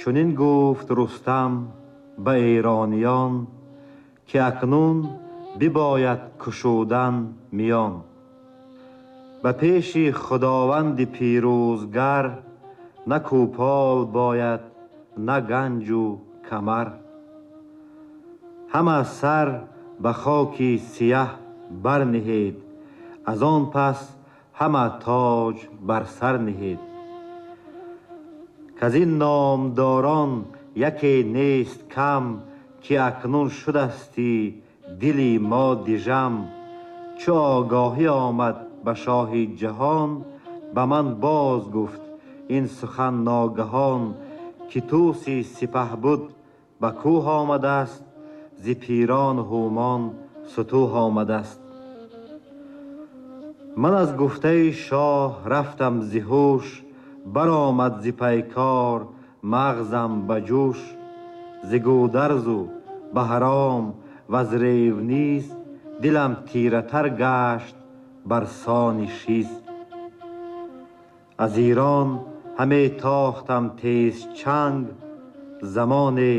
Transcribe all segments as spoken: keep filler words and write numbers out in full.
Чунин гуфт Рустам ба эрониён, ки акнун бибояд кушудан миён. Ба пеши Худованди пирӯзгар, на кӯпол бояд, на ганҷу камар. Ҳама сар ба хоки сияҳ барниҳед, аз он пас ҳама тоҷ бар сар ниҳед. Каз ин номдорон яке нест кам, ки акнун шудасти дили мо дижам. Чу огоҳӣ омад ба шоҳи ҷаҳон, ба ман боз гуфт ин сухан ногаҳон, ки Тӯси сипаҳ буд ба кӯҳ омадаст, зи пирон ҳумон сутӯҳ омадаст. Ман аз гуфтаи шоҳ рафтам зи ҳуш, баромад зи пайкор мағзам ба ҷӯш. Зи Гӯдарзу Баҳром ва з Ревниз, дилам тиратар гашт бар сони шиз. Аз Эрон ҳаме тохтам тез чанг, замоне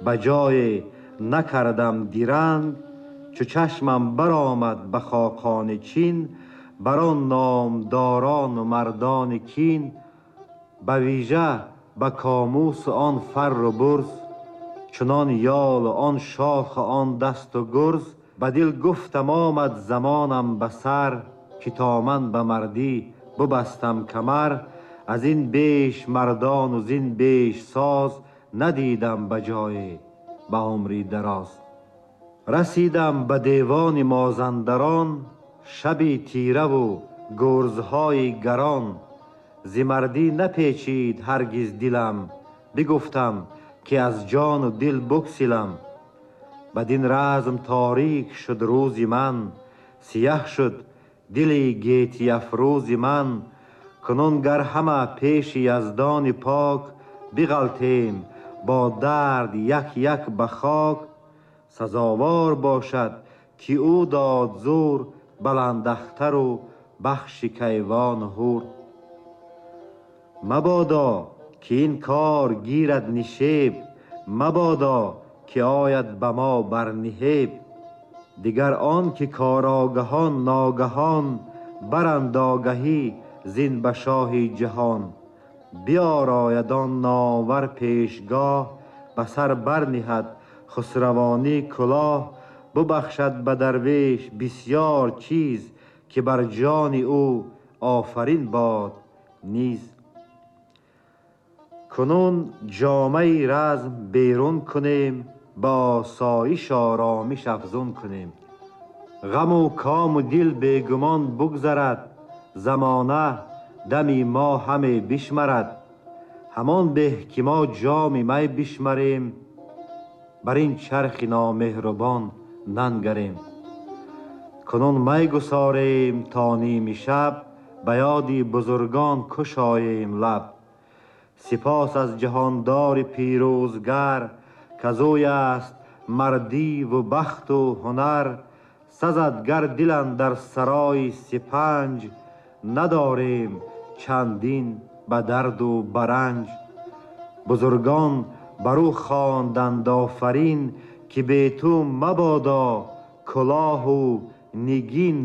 ба ҷое накардам диранг. Чу чашмам баромад ба хоқони Чин, бар он номдорону мардони кин. Ба вижа ба комусу он фарру бурз, чунон ёлу он шоху он дасту гурз. Ба дил гуфтам омад замонам ба сар, ки то ман ба мардӣ бубастам камар. Аз ин беш мардону зин беш соз, надидам ба ҷое ба умри дароз. Расидам ба девони Мозандарон, шаби тираву гурзҳои гарон. Зи мардӣ напечид ҳаргиз дилам, бигуфтам ки аз ҷону дил буксилам. Бадин разм торик шуд рӯзи ман, сияҳ шуд дили гетӣ афрӯзи ман. Кунун гар ҳама пеши Яздони пок, биғалтем бо дард як як ба хок. Сазовор бошад ки ӯ дод зур, баландахтару бахши кайвону ҳур. Мабодо ки ин кор гирад нишеб, мабодо ки ояд ба мо бар ниҳеб. Дигар он ки корогаҳон ногаҳон, баранд огаҳӣ зин ба шоҳи ҷаҳон. Биёрояд он номвар пешгоҳ, ба сар барниҳад хусравонӣ кулоҳ. Бубахшад ба дарвеш бисёр чиз, ки бар ҷони ӯ офарин бод низ. Кунун ҷомаи разм берун кунем, ба осоиш оромиш афзун кунем. Ғаму кому дил бегумон бугзарад, замона дами мо ҳаме бишмарад. Ҳамон беҳ ки мо ҷоми май бишмарем, бар ин чархи номеҳрубон нангарем. Кунун май гусорем то ними шаб, ба ёди бузургон кушоем лаб. Сипос аз ҷаҳондори пирӯзгар, казӯй аст мардиву бахту ҳунар. Сазад гар дил андар сарои сипанҷ, надорем чандин ба дарду ба ранҷ. Бузургон бар ӯ хонданд офарин, ки бе ту мабодо кулоҳу нигин.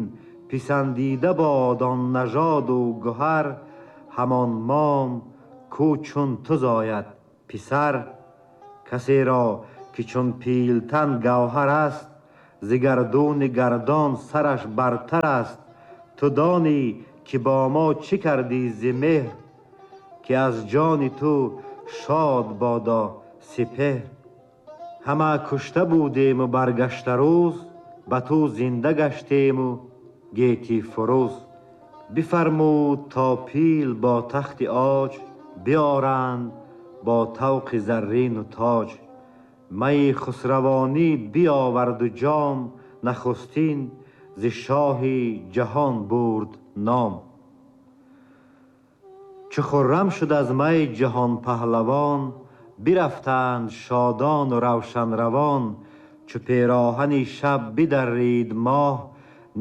Писандида бод он нажоду гуҳар, ҳамон мом ку чун ту зояд писар. Касеро ки чун пилтан гавҳар аст, зи гардуни гардон сараш бартар аст. Ту донӣ ки бо мо чӣ кардӣ зи меҳр, ки аз ҷони ту шод бодо сипеҳр. Ҳама кушта будему баргашта рӯз, ба ту зинда гаштему гетӣ фурӯз. Бифармуд то пил бо тахти оҷ, биёранд бо тавқи заррину тоҷ. Майи хусравонӣ биёварду ҷом, нахустин зи шоҳи ҷаҳон бурд ном. Чу хуррам шуд аз май ҷаҳон паҳлавон, бирафтанд шодону равшанравон. Чу пероҳани шаб бидаррид моҳ,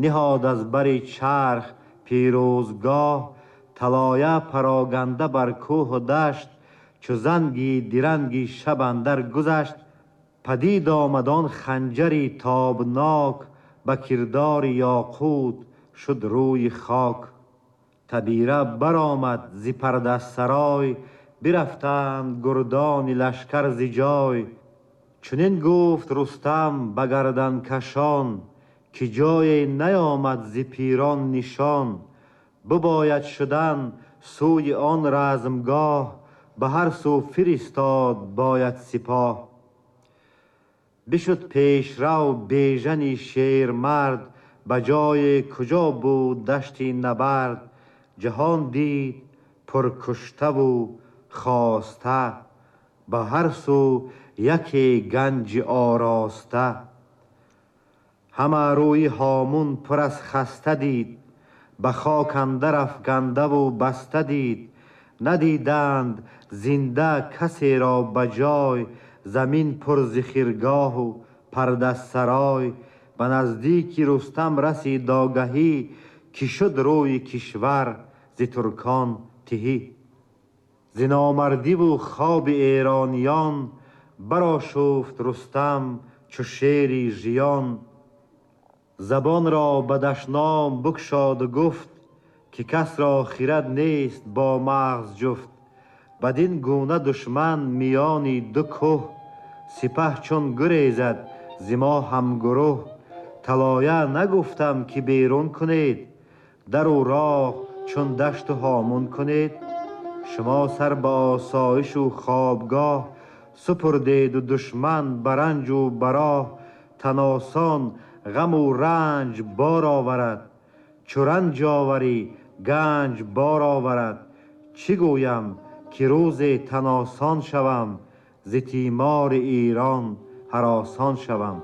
ниҳод аз бари чарх пирӯзгоҳ. Талоя пароганда бар кӯҳу дашт, چو زنگی درنگی شب اندر گذشت. پدید آمد آن خنجری تابناک، به کردار یاقوت شد روی خاک. تبیره برآمد ز پرده سرای، برفتند گردان لشکر ز جای. چنین گفت رستم به گردن کشان، که جای نیامد ز پیران نشان. بباید شدن سوی آن رزمگاه، به هر سو فرستاد باید سپاه. بشد پیشرو بیژن شیرمرد، به جای کجا بود دشت نبرد. جهان دید پرکشته و خواسته، به هر سو یکی گنج آراسته. همه روی هامون پر از خسته دید، به خاک اندر افکنده و بسته دید. ندیدند زنده کسی را به جای، زمین پر ز خرگاه و پرده سرای. به نزدیک رستم رسید آگهی، که شد روی کشور ز ترکان تهی. ز نامردی و خواب ایرانیان، برآشفت رستم چو شیری ژیان. زبان را به دشنام بگشاد و گفت، که کس را خرد نیست با مغز جفت. بدین گونه دشمن میان دو که، سپه چون گریزد ز ما همگروه. طلایه نگفتم که بیرون کنید، در و راه چون دشت و هامون کنید. شما سر به آسایش و خوابگاه، سپردید و دشمن برنج و براه. تن آسان غم و رنج بار آورد، چو رنج آوری گنج بار آورد. چی گویم که روز تن آسان شوم، ز تیمار ایران هراسان شوم.